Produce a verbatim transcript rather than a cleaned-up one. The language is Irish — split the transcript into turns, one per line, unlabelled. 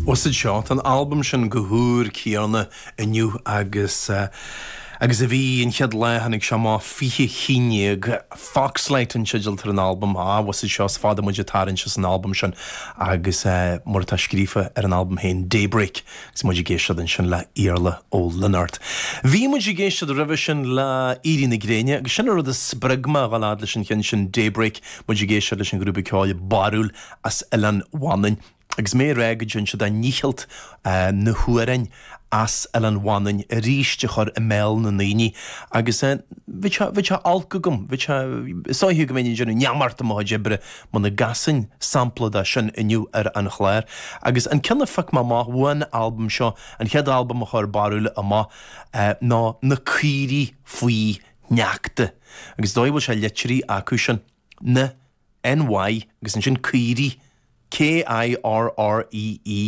Bhuel seo an albam sin go húr céanna inniu agus uh, agus a bhí an chéad lá tháinig sé amach fiche chinnéag Foxlight an teideal ar an albam á was seo fada muid tar san albam sin agus uh, mar atá scríofa ar an albam féin Daybreak is muid ag éisteacht ansin le Iarla Ó Lionáird. Bhí muid ag éisteacht roimhe sin le Éirí na Gréine, agus sin rud a spreag mé a ghabháil leis an cheann sin Daybreak muid ag éisteacht leis an grúpa ceoil Barúil as Oileán Mhanainn. Agus mé rá go dtéann siad a ndícheall uh, na hamhráin as Oileán Mhanainn arís a chur i mbéal na ndaoine agus bhí sé olc agam bhí sáithe go mé déanamh neamart mo oibre muna gcasfainn sampla de sin inniu ar an chlár. Agus an ceann a phioc mé amach ón albam seo an chéad albam a chuir Barúil amach uh, ná na caoirigh faoi sneachta. Agus dóigh bhfuil sé litrithe acu sin na NY agus ansin caoirigh K I R R E E